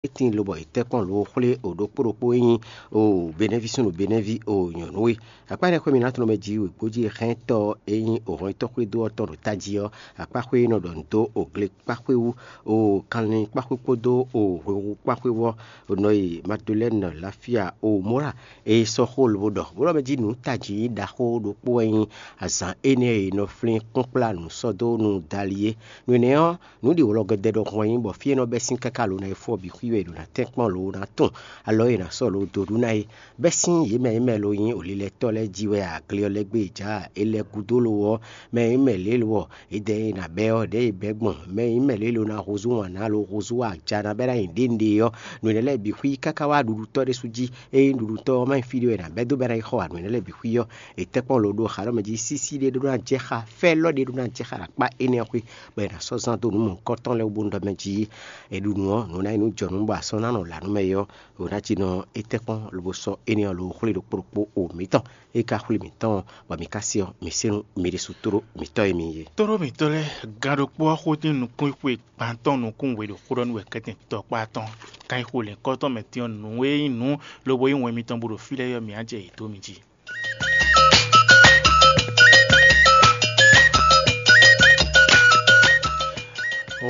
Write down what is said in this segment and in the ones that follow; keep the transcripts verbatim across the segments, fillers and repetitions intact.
Étín lobɔ è tɛ́ kpɔ́n lǒ xwlé o ɖokpó ɖokpó e nyí o Benɛ́ví súnnu Benɛ́ví o nyɔ̌nu e. Akpá énɛ́ xwé mǐnátɔn mɛ jí wěgbójí hɛntɔ́ e nyí o hɔnyitɔ́ xwédo ɔ́ tɔn ɖo tají ɔ́, akpá xwé e nɔ ɖɔ nǔ dó o glekpáxwé wú, o kanlin kpáxwé kpódó o hwexu kpáxwé wú ɔ́, o nɔ yi Madulɛ́nu Lafia o Mɔ́ra e sɔ́ xó lobo ɖɔ bó ɖɔ mɛ jí nǔ tají ɖaxó ɖokpó wɛ nyí azǎn énɛ́ e è nɔ flín kpɔ́nkplá nǔ sɔ́ dó nú Dali é. Nǔ énɛ́ ɔ́, nǔ ɖi wlɔgɔdɛ ɖɔhun wɛ nyí bɔ fí e nɔ bɛ́ sín káká lǒ ná yi fó ɔ́ bǐ xwí wɛ è ɖǒ ná tɛ́nkpɔ́n lǒ ná tun alɔ e è nǎ sɔ́ lǒ dó ɖu ná é. Bɛ́ sín yě mɛ e mɛ lo nyí olilɛtɔ́ lɛ́ɛ jí wɛ agle ɔ́ lɛ́ gbé è jǎ é lɛ́ gúdo lo ɔ́, mɛ e mɛ lě lo ɔ́, édɛɛ e è nǎ bɛ́ ɔ́, ɖěe è bɛ́ gbɔn mɛ e mɛ lě lo ná húzú wǎn ná lo húzú aja ná bɛ́ ná nyi ɖěnuɖe ɔ́, nǔ énɛ́ lɛ́ɛ bǐ xwí káká wá ɖuɖutɔ́ ɖésú jí. Ényí ɖuɖutɔ́ ɔ́ má nyí fí ɖé wɛ è nǎ bɛ́ dó bɔ é ná yi xɔ wǎ nǔ énɛ́ lɛ́ɛ bǐ xwí ɔ́, è tɛ́ kpɔ́n lǒ ɖó xa lɔ́ mɛ jí sísí ɖé ɖó ná jɛ xá fɛ́ lɔ́ ɖé ɖó ná jɛ xá ɖo akpá énɛ́ ɔ́ xwé, bɔ è nǎ sɔ́ zán dó nǔ mɔ̌hunkɔtɔn lɛ́ɛ wú bónú ɖɔ mɛ jí è ɖu nǔ ɔ́, nǔ ná nyí nǔ jɔnǔ bɔ asɔ́ ná nɔ lǎ nú mɛ é ɔ́, è nǎ jí nɔ é tɛ́ kpɔ́n lobo sɔ́ énɛ́ ɔ́ lǒ xwlé ɖo kpó ɖokpó o mǐtɔn. É ka xwlé mǐtɔn ɔ́, bɔ mǐ ka se ɔ́, mǐ se nú mǐ ɖésú tló mǐtɔn e mi nyí é. Tlóló mǐtɔn lɛ́ɛ, gan ɖokpó ɔ́ xótín nukúnxwe gbantɔ́ nukún we ɖo xó ɖɔ nú wɛ kɛ́tɛn tɔkpá tɔn. Kan yi xo lɛ̌nkɔ́tɔn mɛ din ɔ́, nǔ e nyí nǔ lobo nyí wɛn mitɔn bó ɖo fí lɛ́ɛ ɔ́, mǐ á jɛ yě dó mi jí.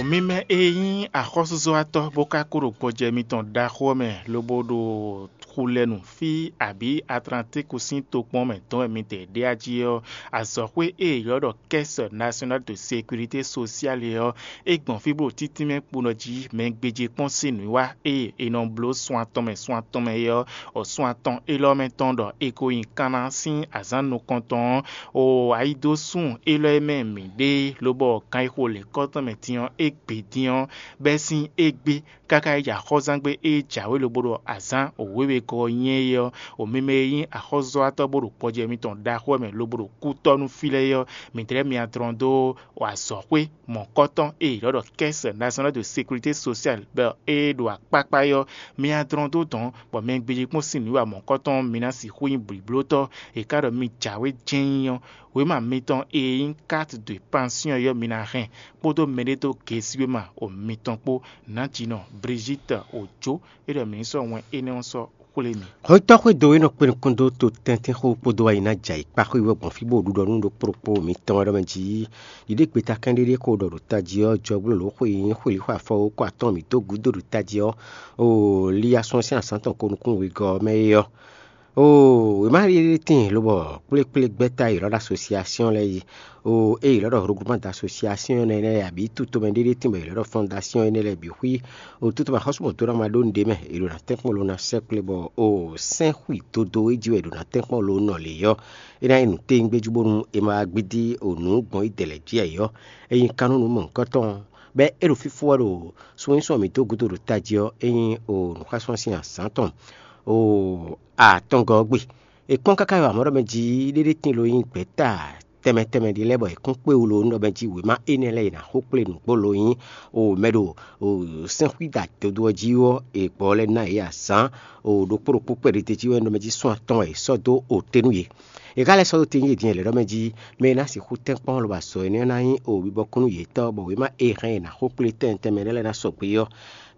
Mǐ mɛ e nyí axɔ́súzɔ́watɔ́ bó ka kó ɖo gbɔjɛ mitɔn ɖaxó ɔ́ mɛ lobo ɖo xulɛnu fí abǐ Atlantíku sín tokpɔn mɛ dɔn wɛ mitɛɛ ɖe ají ɔ́, azɔ̌xwé e è ylɔ́ ɖɔ Caisse Nationale de Sécurité Sociale ɔ́, é gbɔn fí bó ɖo títínmɛ kpo nɔ jí mɛ gbéjé kpɔ́n sín nǔwiwa e è nɔ bló sun atɔn mɛ sun atɔn mɛ é ɔ́, ɔ sun atɔn élɔ́ mɛ tɔn ɖɔ è ko nyi kanna sín azǎn nukɔntɔn ɔ́, o ayidósun élɔ́ e mɛ mǐ ɖe lobɔ kan e xo lěkɔ́tɔn mɛ din ɔ́, é gbe din ɔ́, bɛ́ sín égbé káká yi jɛ axɔ́zángbé e jǎwe lobo ɖo azǎn wěwegɔ́ ɔ́ nyɛ é ɔ́, o mi mɛ e nyí axɔ́zɔ́watɔ́ bó ɖo gbɔjɛ mitɔn ɖaxó wɛ mɛ lobo ɖo kútɔ́ nú fí lɛ́ɛ é ɔ́, mǐ dlɛ́ myɔ dlɔn dó azɔ̌xwé mɔ̌kɔ́tɔn e è ylɔ́ ɖɔ Caisse Nationale de Sécurité Sociale bɔ é ɖo akpákpá é ɔ́, myɔ dlɔn dó dɔ̌n, bɔ mɛ gbéjé kpɔ́n sín nǔwiwa mɔ̌kɔ́tɔn ɔ́, mi ná sixú nyí blǐblótɔ́. È ka ɖɔ mi jǎwe jɛ́n nyí ɔ́, wěma mitɔn e nyí carte de pension ɔ́ mi ná hɛn, kpódó mɛɖédógesíwéma o mitɔn kpó. Nǎjínɔ Brigitte Ojo é ɖɔ mǐ ní sɔ́ wɛn énɛ́ ɔ́ sɔ́ xwlé mi. Xɔ́ntɔ́ xwédo e nɔ kpé nukún dó to tɛ́ntin xó kpódó ayi ná jɛ ayǐkpa xwé wɛ gbɔn fí bó ɖu ɖɔ nú ɖokpó ɖokpó mǐtɔn wɛ ɖɔ mɛ jí ɖiɖégbeta kɛ́n ɖéɖé xo ɖɔ ɖo tají ɔ́, jɔgblélo xwe e nyí xwelǐxɔ afɔ ko atɔn mǐ dó gǔdo ɖo tají ɔ́, o Liasɔ́n sín azǎn tɔn ko nukún wegɔ́ ɔ́ mɛ é ɔ́. Oo, wěma ɖé ɖé tíin lobɔ kplékplé gbɛ́ta e ylɔ́ ɖo asosiasiɔn lɛ́ɛ yi. Oo, ée ylɔ́ ɖɔ regroupement d'association énɛ́ lɛ́ɛ abǐ tutomɛ ɖé ɖé tíin bɔ ylɔ́ ɖɔ fondation énɛ́ lɛ́ɛ bǐ xwí. O tutomɛ xɔ́sú mɔ̌ dó ná ma ɖó nǔɖé mɛ, è ɖo ná tɛ́nkpɔ́n lo ná sɛ́ kplé bɔ o sɛ́nxwi dodo e jí wɛ è ɖo ná tɛ́nkpɔ́n lo nɔ lě ɔ́, é ná nyí nǔ téwúngbéjú bónú è ma wá gbídí o nǔ gbɔn yi dɛ lɛ̌ jí ɛ ɔ́. É nyí kannúnú mɔ̌hunkɔtɔn, bɔ é ɖo fífó wɛ ɖo sunwínsɔ́n mǐtɔn gúdo ɖo tají ɔ́, é nyí o nǔxwásúnɔ sín azǎn tɔn o atɔngɔ́ ɔ́ gbe. È kpɔ́n káká yi wǎmɔ́ ɖɔ mɛ jí ɖéɖé tíin lo nyí gbɛ̌ta tɛnmɛ tɛnmɛ ɖé lɛ́ɛ bɔ è kún kpé wú lo nú ɖɔ mɛ jí wěma énɛ́ lɛ́ɛ è nǎ xo kplé nǔgbó lo nyí o mɛ ɖo o sɛ́nxwída dodo ɔ́ jí ɔ́, è gbɔ lɛ́ ná yě azǎn o ɖokpó ɖokpó kpɛɖé jí wɛ nú ɖɔ mɛ jí sún atɔn wɛ è sɔ́ dó o te nú yě. È ka lɛ́ sɔ́ dó te nú yě din lɛ̌ ɖɔ mɛ jí mɛ e ná sixú tɛ́nkpɔ́n lobo azɔ̌ énɛ́ ɔ́ ná nyí o bibɔkún nú yětɔn, bɔ wěma e hɛn è nǎ xo kplé tɛnmɛ tɛnmɛ lɛ́ɛ ná sɔgbe ɔ́,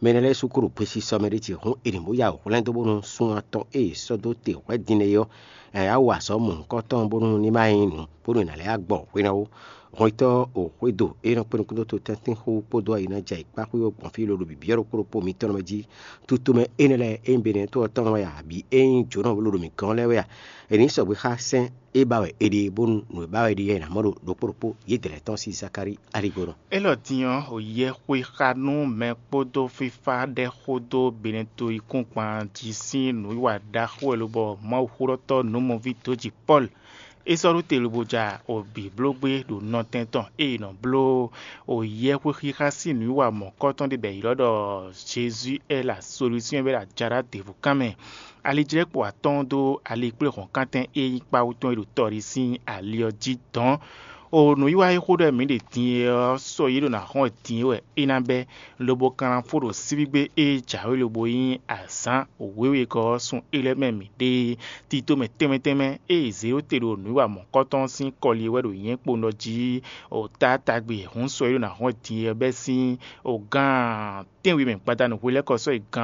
mɛ énɛ́ lɛ́ɛ sú kó ɖo gbesisɔ mɛ ɖé ce hǔn è nǐ bó ya hwlɛ́n dó bónú sún atɔn e è sɔ́ dó te hwɛ̌ din é ɔ́, ɛ á wa azɔ̌ mɔ̌hunkɔtɔn bónú ní ma nyí nǔ bónú è nǎ lɛ́ wá gbɔ hwena ó. Hɔnnyitɔ́ o xwédo e nɔ kpé nukúnnú dó tɛ́ntin xó kpódó ayi ná jɛ ayǐkpá xwé ɔ́ gbɔn fí lolo bǐbyɔ́ ɖokpó ɖokpó mitɔn mɛ jí. Tutomɛ énɛ́ lɛ́ɛ é nyí Benɛtɔ́ ɔ́ tɔn wɛ a, abǐ é nyí jǒnɔ lolo mǐ gɔ́n lɛ́ɛ wɛ a? È nǐ sɔgbe xá sɛ́n é ba wɛ è ɖe bónú nǔ e ba wɛ è ɖe ɔ́ è nǎ mɔ ɖo ɖokpó ɖokpó yědɛɛ lɛ́ɛ tɔn sín Zakalíi aligbɔnɔ. Élɔ́ din ɔ́, o yɛ xwe xa nú mɛ kpódó fífá ɖɛ́ xó dó Benɛto yíkúngban jí sín nǔwiwa ɖaxó wɛ lobɔ Mawuxóɖɔtɔ́ nǔmɔví dǒjǐ Pɔ́lu. É sɔ́ ɖó te lobo ja o bǐ bló gbé ɖo nɔtɛn tɔn e è nɔ bló o yɛhwexixa sín nǔwiwa mɔ̌kɔtɔn ɖé bɔ è ylɔ́ ɖɔ Jezu ɛ la solúsyɔn bɔ é ɖo ajaɖá ɖěbǔ kan mɛ. Alijlɛ́kpo atɔ́ɔ́n dó ali kplé hɔ̌nkántɛn e nyí kpáwú tɔn e ɖo tɔɖi sín ali ɔ́ jí dɔ̌n. O nǔwiwa e xó ɖɔ mǐ ɖe din é ɔ́, sɔ́ yě ɖo ná hɔn wɛ din é wɛ é ná bɛ́, lobo kanlafó ɖo sívígbé e jǎwe lobo nyí azǎn wěwegɔ́ ɔ́ sun é lɛ́ɛ mɛ mǐ ɖe. Tito mɛ tɛnmɛ tɛnmɛ e zě ɖó te ɖo nǔwiwa mɔ̌kɔtɔn sín kɔli é wɛ ɖo nyɛ̌kpo nɔ jí o taatagbe hǔn sɔ́ yě ɖo ná hɔn wɛ din é ɔ́ bɛ́ sín o gán tɛ́nwe mɛ gbadanu hwelɛ́kɔ sɔ́ yi gán